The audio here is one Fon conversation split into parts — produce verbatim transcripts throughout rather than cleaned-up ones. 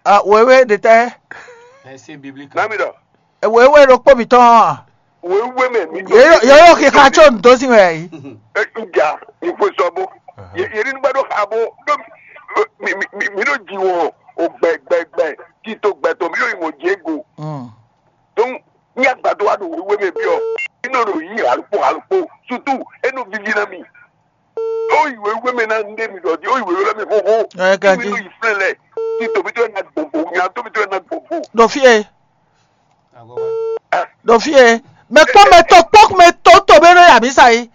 Ah, wěwé ɖe tɛ́? Verset biblique. Nami ɖɔ. Wěwé ɖokpó mǐtɔn a? Wéwé mɛ mi. Yeyɔ xixa tso ndo sín wɛ yìí. Nja ìfo sɔbo. Yeri nígbà ɖo xa bó ɖo mi mi mi mi ɖo ji wɔn o gbɛ gbɛ gbɛ tito gbɛ tɔn mi ɖo yi wɔn jɛ go. Mm. Donc ní agbadɔ wa ɖo wéwé mɛ biɔ inɔ ɖo yi alukpo alukpo surtout enu vivi na mi. Ó yi wéwé mɛ na ndé mi ɖɔ di ó yi wéwé lɔ mi xoxo. Ɛ, ka mi di. Ɖo yi flɛ lɛ tito mi to na gbogbo nya to mi to na gbogbo. Ɖo fie, Agogo. ɖo fie. Mɛ kpɔ́ mɛ tɔ kpɔ́ mɛ tɔ tɔ bɛ ɖo yabisa yi.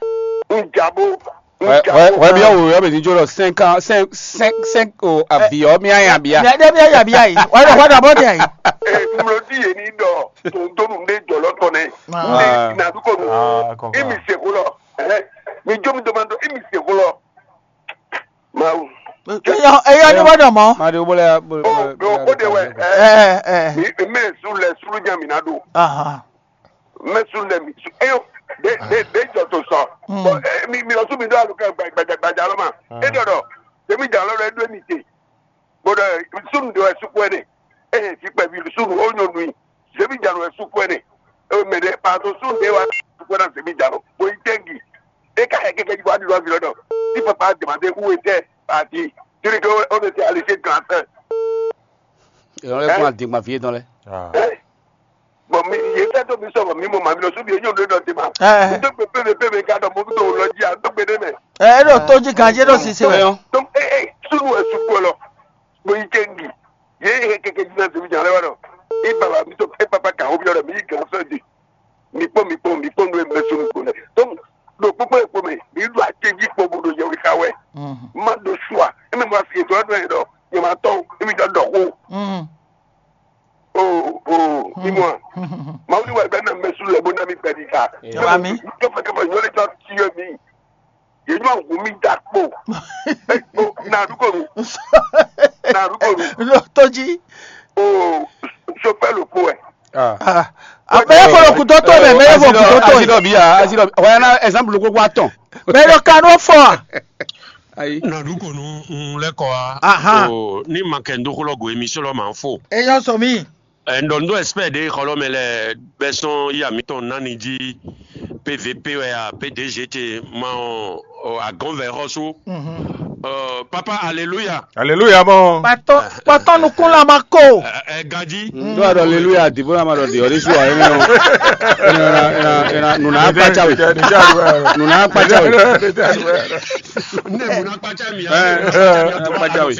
Njabo. Wɛ wɛ wɛ bí ɔwɔ yɔ bɛ ní jó lɔ cinq ans cinq cinq cinq o aviɔ mi anya bia. Mɛ ɖe mi yabia yi. Wɛ ɖe wɛ ɖe bɔ ɖe yi. Mlɔdi yɛ ni dɔ tòǹtòǹ ɖe jɔlɔ tɔ nɛ. Ah. Nde na du ko nu. Ah, kɔkɔ. Imi se ko lɔ. Ɛ mi jo mi dɔmɔ dɔ imi se ko lɔ. Mawu. Eyɔ eyɔ ni wɛ ɖɔ mɔ. Ma de wo bɔ lɛ ya bɔ. O o de wɛ. Ɛ Ɛ ɛ. Mi mi su lɛ sulu jan mi na do. Ahan. Mɛ su lɛ mi su eyo. De de de jɔ to sɔ. Mm. Bɔn mi mi lɔ su mi do alu kɛ gbadza gbadza lɔ ma. E dɔ dɔ. Tèmi jà lɔ lɔ e do mi te. Bɔn sunu de wɛ suku ɛnɛ. Ee si kpɛvi sunu o nyɔnu yi. Tèmi jà lɔ wɛ suku ɛnɛ. Ee mɛ de pardon sunu de wa suku ɛnɛ tèmi jà lɔ. Bo yi tɛngi. E ka yɛ kɛkɛ ji bɔ adi lɔ vi lɔ dɔ. Si papa dèmande wu etɛ pati. Tiri ke o bɛ se alise gan sɛ. Ìrànlẹ́ fún àdìgbà fi é tán lẹ. Ah. Bɔn mi yé fẹ́ tó mi sọ̀rọ̀ mi mọ̀ màmí lọ sóbi eyín òde dọ̀tí ma. Ɛ Mi tó gbé pépé pépé ká dọ̀ mọ́ tó lọ jí àdógbé dé mẹ́. ɛ ɖo tó jí ganjé ɖo sisi wɛ. Tó ɛ ɛ sunu ɛ sukú ɛ lọ. Mo yi ké ngi. Yé yé kéké jí náà tèmi jà lẹ́wọ̀n náà. Ì bàbá mi tó ẹ pápá kà ó bí ọ̀rọ̀ mi yí gàn fẹ́ di. Mi kpɔ́n mi kpɔ́n mi kpɔ́n nú ẹ mẹ́ sunu kò lẹ̀. Tó ɖo kpókpó ẹ̀ kpó mẹ́ mi ɖo àtẹ́jí kpó bó ɖo yẹ wí ká wẹ́. Má ɖo sua. Ẹ mẹ́ mo fi ètò ọdún ẹ̀ dọ̀. Yẹ máa tọ́ ẹ mi dọ̀ dọ̀ kó. O o imua. Mawu ni wa gbɛ na mɛ su lɛ bo na mi gbɛ di ta. Baba mi. Kɛfɛ kɛfɛ nyɔ lɛ jɔ ti yɔ mi. Yɛ nyɔ awu mi da kpo. O na du kɔnu. Na du kɔnu. Ɖo tó jí. O sofɛ lo kpo ɛ. Abɛ kɔlɔ kutɔ tó mɛ mɛ yɛ fɔ kutɔ tó Asi yi. dɔ bi ya asi dɔ bi. Wɛ na exemple ko kó atɔn. Mɛ ɖo kan ɖo fɔ. Ayi. Na ɖu ko nu un lɛ́ kɔ wá. Ahan. O ní ma kɛ ń dó xó lɔ go émission lɔ ma fo. Eyɔ sɔ mi. Ɛ, n ɖɔ n ɖó expert ɖé xɔ lɔ mɛ lɛ bɛ sɔn yí amítɔn nani jí P V P wɛ ya P D G te ma ɔ ɔ, agɔnvɛ xɔsu. Ɔ, papa aleluya. Alléluia bon. Kpatɔ kpatɔ nukun la ma ko. Ɛ, ɛ, gaji. Ndo a dɔ aleluya di bo na ma dɔ di ɔdi su ayi nɛ o. Ena ena ena nuna akpatsa we. Nuna akpatsa we. Ne mun akpatsa mi. Akpatsa we.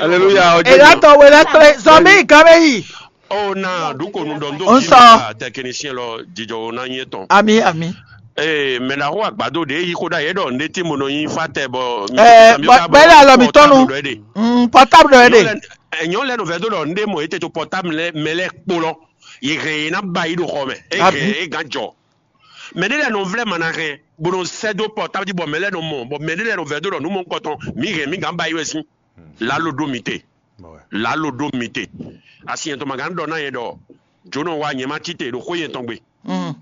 Aleluya ɔdi. Eya tɔ wele kple zɔmi gabe yi. Ɔ na ɖu ko nu ɖɔ n ɖo N kí sɔ. Technicien lɔ jijɔ wo na nyɛ tɔn. Ami ami. Ee mɛ na xo agbado ɖe yi xo ɖa yɛ ɖɔ n ɖe tí mo nɔ nyi fa tɛ bɔ. Ɛɛ bɛ la lɔ mi tɔnu. Mm, portable dɔ yɛ de. Ɛnyɔ lɛ nɔfɛ do ɖɔ n ɖe mɔ ete to portable lɛ mɛ lɛ kpo lɔ yi hɛn yi na ba yi ɖo xɔ mɛ e Abi. hɛn e gan jɔ. Mɛ ɖe lɛ nɔ vlɛ ma na hɛn bo nɔ sɛ do portable ji bɔ mɛ lɛ nɔ mɔ bɔ mɛ ɖe lɛ nɔfɛ do ɖɔ nu mɔ kɔtɔn mi hɛn mi gan ba yi wɛ si. Lalo ɖo mi te. Lalo ɖo mi te. Asi yɛn tɔn ma gan ɖɔ na yɛ ɖɔ jonɔ wa nyɛ ma ci te ɖo xó yɛn tɔn gbe. Mm.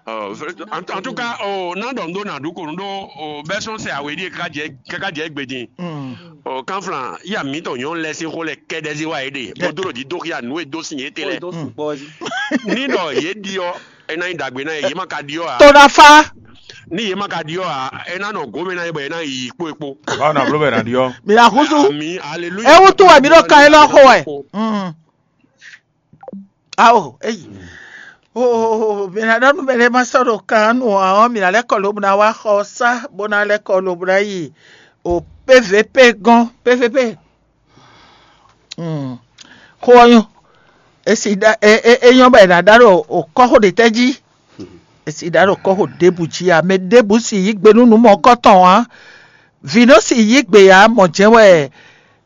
Ɔ, en, en tout cas, o na ɖɔ ŋɖo na ɖu ko ŋɖo o bɛ sɔn sɛ awe ɖie kaka jɛ kaka jɛ egbe din. Mm. O kanflan ya mi tɔ nyɔ lɛ si xo lɛ kɛɖɛ zi wa ye ɖe. Mo do ɖo di do xia nu e do si ye te lɛ. Ó dó sùpọ̀ yìí. Ni ɖɔ ye ɖi ɔ e na yi dagbe na ye ye ma ka ɖi ɔ a. To na fa. Ni ye ma ka ɖi ɔ a e na nɔ gome na ye bɔ ye na yi kpo ekpo. Báwo na bolo bɛ na di ɔ? Mi na huzu. Ami aleluya. Ewu tu wɛ mi ɖo kan yi lɔ xo wɛ. Mm. Awo eyi. O mi na ɖɔ nu mɛ ɖe ma sɔ ɖo kan nu ɔ mi na lɛ kɔ lobo na wa xɔ sa bo na lɛ kɔ lobo na yi o P V P gɔn P V P. Mm. Xo ɔ nyɔ. Esi da e e e nyɔ bɛ na da ɖo o kɔxo ɖe tɛ ji. Esi da ɖo kɔxo ɖebu ji a mɛ ɖebu si yi gbe nu nu mɔ kɔtɔn a. Vino si yi gbe a mɔ jɛ wɛ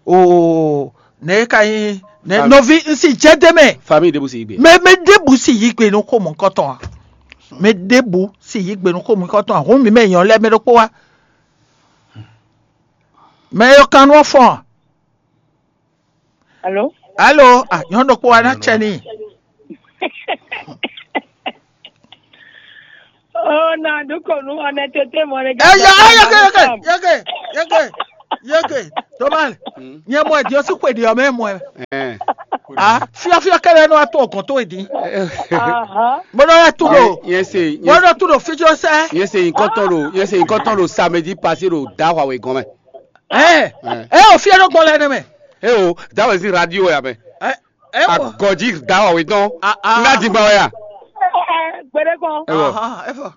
o ne ka yi ne novi n si jɛ de mɛ. Famille de bu si gbe. Mɛ mɛ ɖebu si yi gbe nu xo mɔ kɔtɔn a. Mɛ ɖebu si yi gbe nu xo mɔ kɔtɔn a hun mi mɛ nyɔ lɛ mɛ ɖokpo wa. Mɛ yɔ kan nɔ fɔn. Alo? Alo, ah, nyɔnu ɖokpo wa na tsɛ ni. Oh, na du ko nu honnêteté mo ne. Ɛ yɔ ɛ yɔke yɔke yɔke yɔke yɔke. Tomal. Nyɛ mɔ ɛ di o si xwe di ɔ mɛ mɔ ɛ. Ɛn. Fiɔfiɔ kɛlɛ nɔ wá tó ọgɔn tó e din. Bó nɔ wá tú ɖo, nyɛ se bó nɔ tú ɖo fíjɔ sɛ. Nyɛ se nyikɔtɔn ɖo nyɛ se nyikɔtɔn ɖo samedi passé ɖo da Huawei gɔn mɛ. Ɛ ɛ o fiɛ ɖo gbɔn lɛ ne mɛ. E o da wɛ si radio ya mɛ. Ɛ ɛ o. Agɔji da Huawei tɔn. Ná di gba wɛ ya. Gbede kɔn. E o. Efɔ.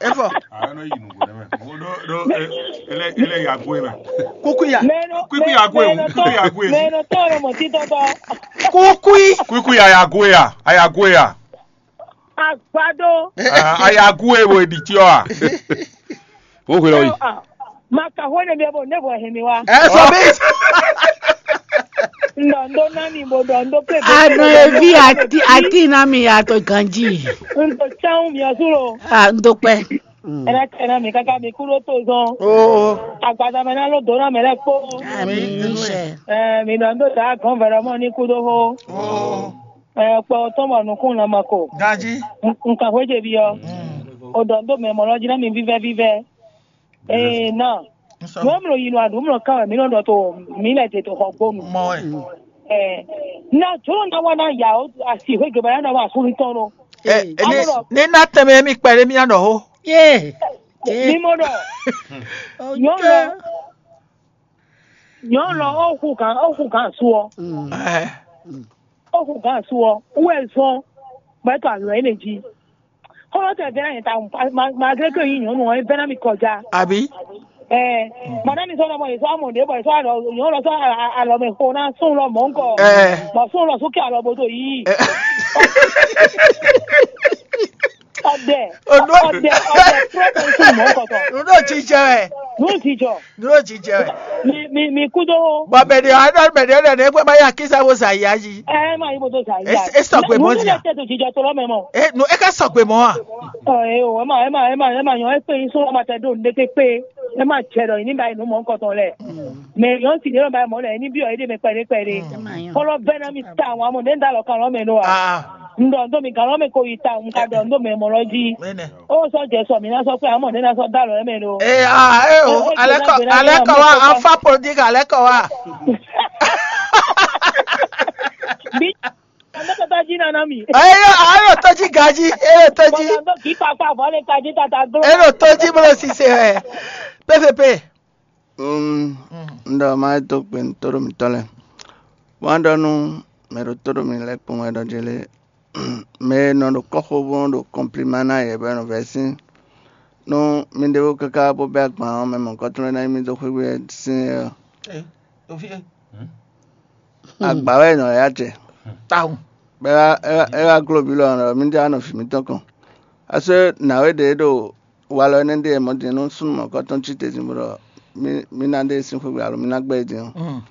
Efɔ. Ano yi nugo ne mɛ. Mo do do ele ele ya gwe mɛ. Kukuya. Kuku ya gwe. Kuku ya gwe. Mɛ nɔ tɔn nɔ mɔ titɔ tɔ. Kukui. Kuku ya ya gwe ya. Aya gwe ya. Agbado. Aya gwe wo edi tiɔ a. Wo hwe lɔ yi. Ma ka hwɛ ne bia bo ne bɔ hɛn mi wa. Ɛ sɔ mi. Ndɔ ndo nani bo dɔ ndo pe. Anɔ evi ati ati na mi ya to ganji. Ndo tsan mi asu lo. Ah, ndo pɛ. Ɛnɛ tɛ na mi kaka mi kúrò tó zɔn. Oo. Agbada mɛ na ló dó na mɛ lɛ kpó. Ami sɛ. Ɛ mi dɔ ndo ta gɔn vɛrɛ mɔ ni kúdó hó. Oo. Ɛ kpɔ tɔn bɔ nukún na ma ko. Ganji. Nkan hwé je bi ɔ. O dɔ ndo mɛ mɔ lɔ jí na mi vívɛ vívɛ. Ee na. Nú mlɔ yi nɔ aɖu mlɔ kan wɛ mí nɔ ɖɔ to mí lɛ te to xɔ gbonu. Mɔ wɛ. Ɛ na jolo na wa na ya o asi hwe gbe ba ya na wa asuli tɔn no. Ɛ ɛ ne Amo ɖɔ ne na tɛmɛ mi kpɛ ɖe mi na ɖɔ ho. Ye. Mí mɔ ɖɔ nyɔnu lɔ nyɔnu lɔ o hu kan o hu kan su ɔ. Ɛ O hu gǎn su ɔ, wú wɛ zɔn bɔ é to alɔ énɛ́ jí. Xɔlɔ́tɔ́ ɛ vɛ́ ná nyɛ ta malgré que nyí nyɔ̌nu ɔ́, é vɛ́ ná mi kɔjá. Àbí? Ɛɛ, mɔ ná mi sɔ́ nɔ mɔ yě sɔ́ amɔ ɖě bɔ yě sɔ́ alɔ nyɔ̌nu lɔ sɔ́ alɔ mɛ xo ná sún lɔ mɔ̌ ŋkɔ. Ɛɛ. Bɔ sún lɔ sún kɛ alɔ bo do yí. Ɔdɛ. Ɔdɛ ɔdɛ prɔfɛsi mɔ̌ ŋkɔ tɔn. Nǔ ɖo jijɛ wɛ. Nǔ jijɔ. Nǔ ɖo jijɛ wɛ. Mi mi mi kúdó. Bɔ mɛ ɖě ɔ́ ɖɔ mɛ ɖě ɔ́ ɖɔ nɛ̌ gbɛ́ ma yí akísa bó zǎn yá jí. Ɛ má yí bó dó zǎn yá. É sɔgbe mɔ̌ jí a? Nǔ tɛ tó jijɔ tó lɔ mɛ mɔ. É nú é ká sɔgbe mɔ̌ a? Ɔ ɛ o ɛ má ɛ má ɛ má ɛ má nyɔ ɛ kpé yín sún ɔmɔ tɛ ɖo nɖéké kpé. Ɛ má jɛ ɖɔ yìí ní ba yi nǔ mɔ̌ kɔtɔn lɛ. Mɛ yɔn si ɖé lɔ ba yi mɔ̌ lɛ ní byɔ yé ɖé mɛ kpɛɖé kpɛɖé. Kɔlɔ bɛ́ ná mi ta àwọn amɔ ɖé ń dá lɔ kan lɔ mɛ nɔ a? Un ɖɔ un ɖó mi gǎn lɔ mɛ ko yi ta un ka ɖɔ un ɖó mɛ mɔ lɔ jí. Ó sɔ́ jɛ sɔ mǐ ná sɔ́ kpé amɔ ɖé ná sɔ́ dó alɔ mɛ ɖó. Ee aa ee o, alɛkɔ alɛkɔ wa afa politique alɛkɔ wa. Bí ọ̀nà tata jí nana mi. Eyo ayo tɔjí gají eyo tɔjí. Bọ́lá tó kì í pa pa bọ́lá tají tata gbó. Eyo tɔjí bolo sise wɛ. Pɛpɛpɛ. Um, n ɖɔ ma yi dó gbe nú tóɖó mǐtɔn lɛ́ɛ. Wǎn ɖɔ nú mɛ ɖo tóɖó mǐ lɛ́ɛ kpɔ́n wɛ ɖɔ jɛ lé. Mɛ e nɔ ɖo kɔ́xo bó nɔ ɖo kɔnplima ná yɛ bɔ é nɔ vɛ́ sín. Nú mi ɖěvo káká bó bɛ́ agban ɔ́, mɛ mɔ̌kɔ́tɔn lɛ́ɛ ná nyí mì dó xwé sín é ɔ́. Agba wɛ è nɔ yá jɛ. Tawun. Bɔ é wá gló bǐ lɔ ɔ́, mǐ jɛ wá nɔ vǐ mǐtɔn kɔn. Asú nǎwe ɖě ɖo walɔ énɛ́ ɖíe mɔ̌ din nú súnnu mɔ̌kɔ́tɔn cí te din bó ɖɔ mí ná ɖe sín xwé gbe alo mí ná gbɛ́ é din ɔ́.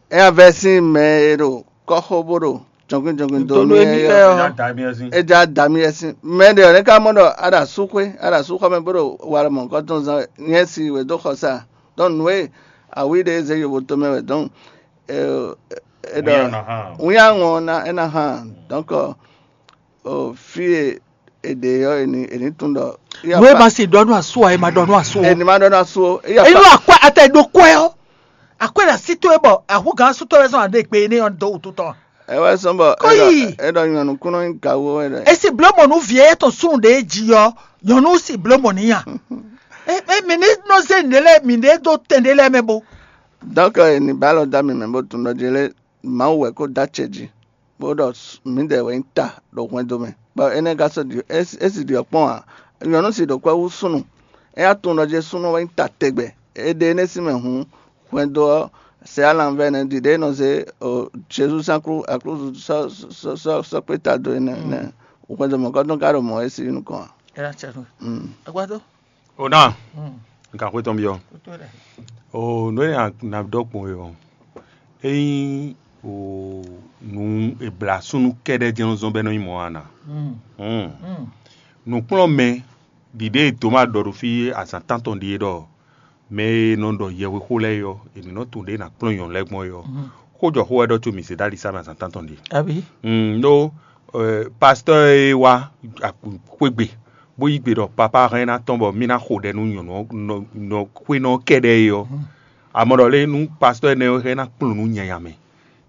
É ná vɛ́ sín mɛ e ɖo kɔ́xo bó ɖo jɔnkwín jɔnkwín dó nú émí lɛ́ɛ ɔ́. É já da mì yɛ sín. Mɛ ɖě ɔ́ nɛ́ ka mɔ ɖɔ a ɖo asú xwé, a ɖo asú xɔ mɛ bó ɖo walɔ mɔ̌kɔ́tɔn zán wɛ, nyɛ si wě dó xɔ sa. Dɔn nǔ e awǐ ɖě zé yovo tomɛ wɛ dɔn. É ɖɔ wínyá ŋɔ ná é ná hán. Dɔ̌nkɔ fí e è ɖe ɔ́, è ní è ní tunwun ɖɔ nú é ma se ɖɔ nú asú ǎ, é ma ɖɔ nú asú ó. È ní ma ɖɔ nú asú ó. Ényí akwɛ́ atɛ ɖo kwɛ́ ɔ́, akwɛ́ ɖo así towe bɔ ahúgǎn asú towe zɔn aɖe gbe énɛ́ ɔ́ dó wútu tɔn. Ɛ wɛ sɔn bɔ Kɔ́yi. É ɖɔ nyɔ̌nu kúnɔ nyí gawo wɛ ɖɔ. Esi bló mɔ nú vǐ e tɔn súnnu ɖě jí ɔ́, nyɔ̌nu si bló mɔ n'i a? Emi ní nɔ zé nǔɖé lɛ́ɛ mǐɖée dó tɛn ɖé lɛ́ɛ mɛ bo. Donc è ní ba alɔ dó ami mɛ bó tunwun ɖɔ jɛ lé Mawu wɛ kó dó acɛ jí, bó ɖɔ mǐdɛɛ wɛ nyí ta ɖo hwɛndo mɛ, bɔ énɛ́ ka sɔ́ ɖi é si ɖi ɔ́ kpɔ́n ǎ. Nyɔ̌nu si ɖo kwɛ́ hú súnnu, é wá tunwun ɖɔ jɛ súnnu wɛ nyí ta tɛgbɛ. È ɖe énɛ́ sín mɛ hǔn, hwɛndo ɔ́, sɛ alanvɛ nɛ́ ɖiɖe e nɔ zé Jezu sín aklúzu sɔ́ kpé ta dó é nɛ́. Hwɛndo mɔ̌kɔ́tɔn ka ɖo mɔ̌ é sí nukɔn ǎ. Agbado. O ná, n ka xwé tɔn byɔ́. O nǔ e na ɖɔ gbɔn e ɔ́, ényí o nǔ e blǎ súnnu kɛ́ɖɛ́ jɛ́n nɔ zɔ́n bɔ é nɔ nyí mɔ̌ a na? Nǔkplɔ́nmɛ ɖiɖe e Toma ɖɔ ɖo fí azǎn tántɔn ɖíe ɖɔ mɛ e nɔ ɖɔ yɛhwexó lɛ́ɛ é ɔ́, è ní nɔ tunwun ɖě è nǎ kplɔ́n nyɔ̌nu lɛ́ɛ gbɔn é ɔ́, xó jɔ xó wɛ ɖɔ có mi se ɖó ali sá mɛ azǎn tántɔn ɖíe. Abǐ? Ndo pastɔ́ e wá xwégbe bó yí gbe ɖɔ papá hɛn ná tɔn bɔ mí ná xo ɖɛ nú nyɔ̌nu xwénɔ kɛɖɛ́ é ɔ́, amɔ ɖɔ lé nú pastɔ́ énɛ́ ɔ́ hɛn ná kplɔ́n nú nyanya mɛ.